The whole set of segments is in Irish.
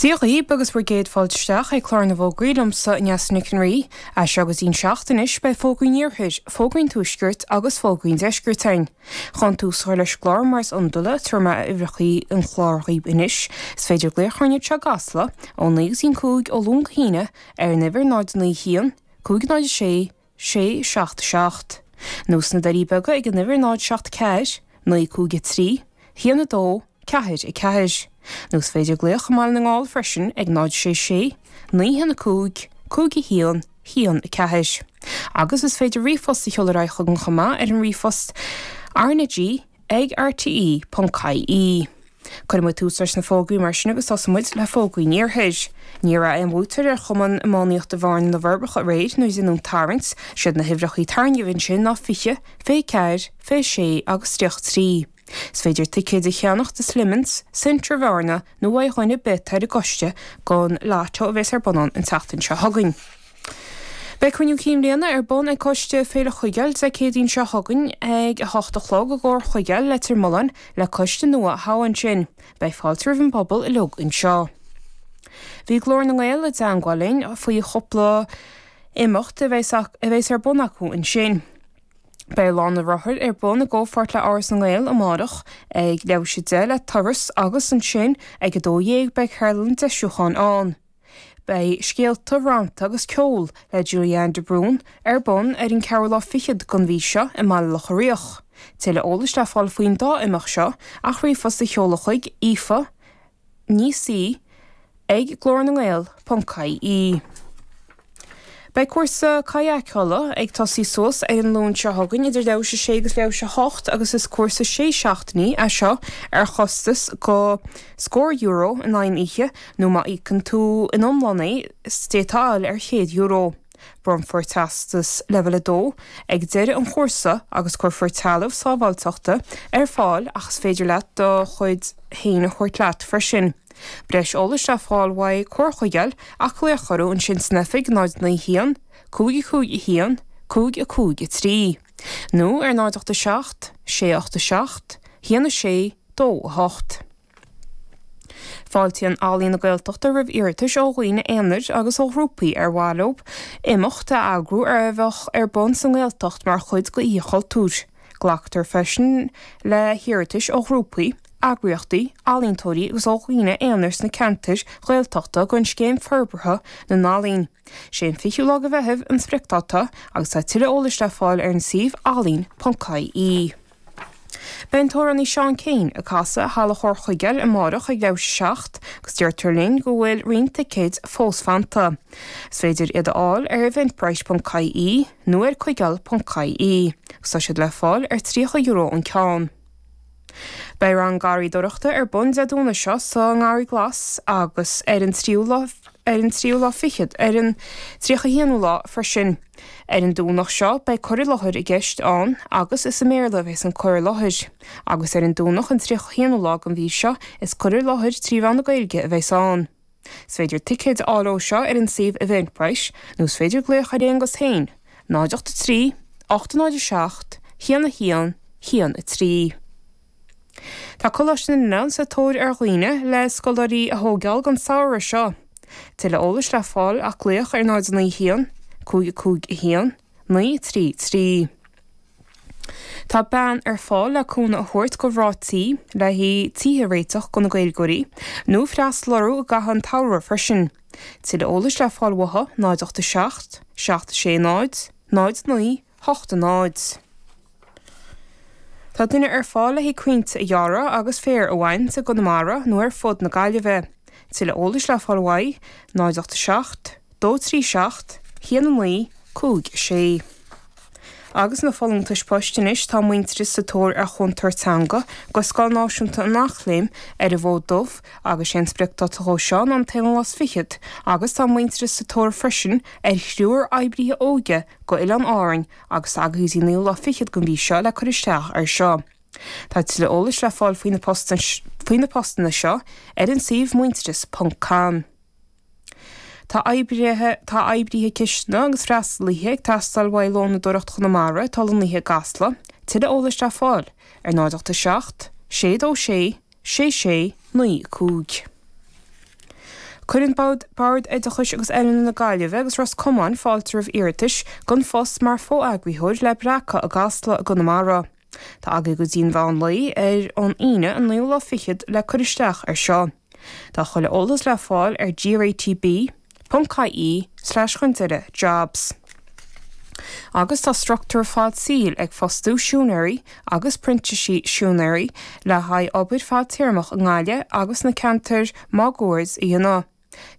Dia dhaoib agus bhur gcéad fáilte isteach ag Clár na bhFógraí liomsa, Neasa Nic an Rí. As seo go dtí'n seacht anois beidh Fógraí an Iarthair, Fógraí an Tuaiscirt agus Fógraí an Deiscirt againn. Chun tús a chur leis an gclár mar is iondúil, tabharfaidh mé uimhreachaí an chláir dhaoib anois. Is féidir glaoch orainn anseo i gCasla ó 9 go dtí'n 5 ó Luan go hAoine ar an uimhir 0 9 1 5 0 6 6 7 7. Nó sna Doirí Beaga ag an uimhir 0 7 4 9 5 3 1 2 4 4. Nó is féidir glaoch i mBaile na nGall freisin ag 0 6 6 9 1 5 5 1 1 4. Agus is féidir ríomhphost a sheoladh ar aghaidh chugainn chomh maith ar an ríomhphost rnag ag rte.ie. Cuirfidh muid tús leis na fógraí mar sin agus tosóidh muid le fógraí an Iarthair. Ní raibh aon bhuaiteoir ar Chumann Iománaíochta Bhearna na bhForbacha aréir nuair a deineadh an tarraingt. Siad na huimhreachaí tarraingthe ansin ná 20, 24, 26 agus 33. Is féidir ticéid a cheannach do Slimmins, Centra Bhearna nó uaidh dhuine ar bith atá ar an gcoiste don Lotto a bheas ar bun ann an tseachtain seo chugainn. Beidh Cruinniú Cinn Bhliana ar bun ag Coiste Féile Chuigéil Dé Céadaoin seo chugainn ag 8 a chlog i gComhar Chuigéil, Leitir Mealláin, le coiste nua a thoghadh ansin. Beidh fáilte roimh an bpobal uilig anseo. Bhí Glór na nGael i dteangmháil linn faoi chúpla imeacht a bheas a bheas ar bun acu ansin. Beidh Lá na Rothar ar bun i gcomhpháirt le Áras na nGael amárach ag leathuair tar éis 10 le turas agus ansin ag 12 beidh ceardlann deisiúcháin ann. Beidh Scéalta, Rannta agus Ceol le Julianne de Brún ar bun ar an ceathrú lá fichead den mhí seo i mBaile Locha Riach. Tuilleadh eolais le fáil faoin dá imeacht seo ach ríomhphost a sheoladh chuig Aoife Ní C ag glórnangael ponc ie. Beidh cúrsa kayakeála ag tosaí suas ar an Luan seo chugainn idir leathuair tar éis a sé agus leathuair tar éis a hocht agus is cúrsa sé seachtainí é seo ar chostas go scór euro in aghaidh an oíche nó má íocann tú in iomlán é d'fhéadfá a fháil ar €100. Bronnfar teastas Leibhéal 2 ag deireadh an chúrsa agus cuirfear trealamh sábháilteachta ar fáil ach is féidir leat do chuid féin a thabhairt leat freisin. Breis eolais le fáil uaidh Comhar Chuigéil ach glaoch orthu ansin san oifig 0 9 1 5 5 1 5 5 3 nó ar 0 8 7 6 8 7 1 6 2 8. Fáiltíonn Ealaín na Gaeltachta roimh iarratais ó dhaoine aonair agus ó ghrúpaí ar mhaith leo imeacht a eagrú a bheadh ar bun sa nGaeltacht mar chuid d'Oíche Chultúir. Glactar freisin le hiarratais ó ghrúpaí, eagraíochtaí, ealaíontóirí agus ó dhaoine aonair sna ceantair Ghaeltachta don Scéim Forbartha na nEalaíon. Sé an 20ú lá de Mheitheamh an spriocdáta agus tá tuilleadh eolais le fáil ar an suíomh ealaín.ie. Beidh an t-amhránaí Seán Keane ag casadh i Halla Chomhar Chuigéil amárach ag leathuair tar éis a 7 agus deirtear linn go bhfuil roinnt ticéid fós fanta. Is féidir iad a fháil ar eventbrite.ie nó ar cuigéal.ie agus tá siad le fáil ar €30 an ceann. Beidh rang garraíodóireachta ar bun Dé Domhnaigh seo sa nGarraí Glas agus ar an tríú lá ar an tríú lá fichead ar an tríocha haonú lá freisin. Ar an Domhnach seo beidh cur i láthair i gceist ann agus is i mBéarla a bheas an cur i láthair. Agus ar an Domhnach an tríocha haonú lá den mhí seo is cur i láthair trí mheán na Gaeilge a bheas ann. Is féidir ticéid a fháil dó seo ar an suíomh Eventbrite nó is féidir glaoch ar Aonghus féin, 0 8 3 8 0 7 1 1 1 3. Tá Coláiste na nOileán sa tóir ar dhaoine le scoláirí a thóigeáil don samhradh seo. Tuilleadh eolais le fáil ach glaoch ar 0 9 1 5 5 1 9 3 3. Tá bean ar fáil le cúnamh a thabhairt do mhná tí le haghaidh tithe a réiteach do na Gaeilgeoirí, nó freastal orthu i gcaitheamh an tsamhraidh freisin. Tuilleadh eolais le fáil uathu, 0 8 7 7 6 0 0 9 8 0. Tá duine ar fáil le haghaidh crainnte a ghearradh agus féar a bhaint i gConamara nó ar fud na Gaillimhe. Tuilleadh eolais le fáil uaidh, 0 8 7 2 3 7 1 9 5 6. Agus na folúntais poist anois, tá Muintearas sa tóir ar chúntóir teanga go Scoil Náisiúnta an Eachléim ar an bhFód Dubh agus sé an spriocdáta dhó seo ná an t-aonú lá is fichead agus tá Muintearas sa tóir freisin ar thriúr oibrithe óige go Oileáin Árainn agus tá agaibh go dtí an naoú lá fichead den mhí seo le cur isteach air seo. Tá tuilleadh eolais le fáil faoi na postanna seo ar an suíomh muintearas ponc com. Tá oibrithe Tá oibrithe cistine agus freastalaithe ag teastáil uaidh Lónadóireacht Chonamara atá lonnaithe i gCasla. Tuilleadh eolais le fáil ar 0 8 7 6 2 6 6 6 9 5. Cuireann Bord Oideachais agus Oiliúna na Gaillimhe agus Ros Comáin fáilte roimh iarratais don phost mar fho-eagraítheoir le Breacadh i gCasla i gConamara. Tá agaibh go dtí an mheán lae ar an Aoine an naoú lá fichead le cur isteach ar seo. Tá chuile eolas le fáil ar gratb ponc ie slash chun deireadh jobs. Agus tá Struchtúr Fad Saoil ag fostú siúinéirí agus printísigh siúinéirí le haghaidh obair fadtéarmach i nGaillimh agus sna ceantair máguaird a dhéanamh.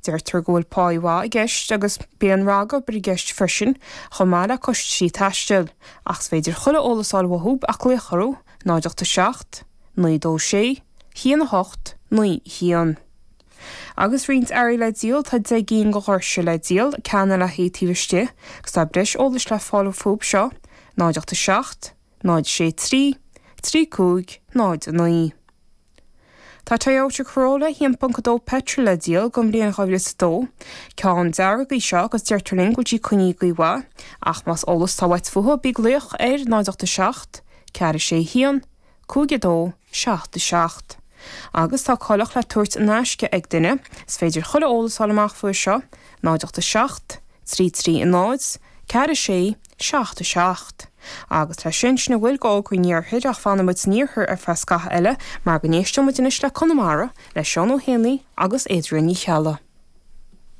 Deirtear go bhfuil páí mhaith i gceist agus bíonn ragobair i gceist freisin chomh maith le costaisí taistil, ach is féidir chuile eolas a fháil uathu ach glaoch orthu, 0 8 7 9 2 6 1 8 9 1. Agus roinnt earraí le díol, tá 10 gcinn de dhoirse le díol, ceann le haghaidh taobh istigh, agus tá breis eolais le fáil fúthu seo, 0 8 7 0 6 3 3 5 0 9. Tá Toyota Corolla 1.2 petrol le díol don bhliain 2002. Ceann dearg í seo agus deirtear linn go bhfuil sí coinnithe go maith, ach más eolas atá uait fúithi, bí ag glaoch ar 0 8 7 4 6 1 5 2 7 7. Agus tá coileach le tabhairt in aisce ag duine, is féidir chuile eolas a fháil amach faoi seo, 0 8 7 3 3 0 4 6 7 7. Agus leis sin, sin a bhfuil d'fhógraí an iarthair ach fanfaidh muid san iarthar ar feadh scaitheamh eile mar go n-éisteoidh muid anois le Conamara, le Seán Ó hÉanaí agus Adrian Ní Cheallaigh.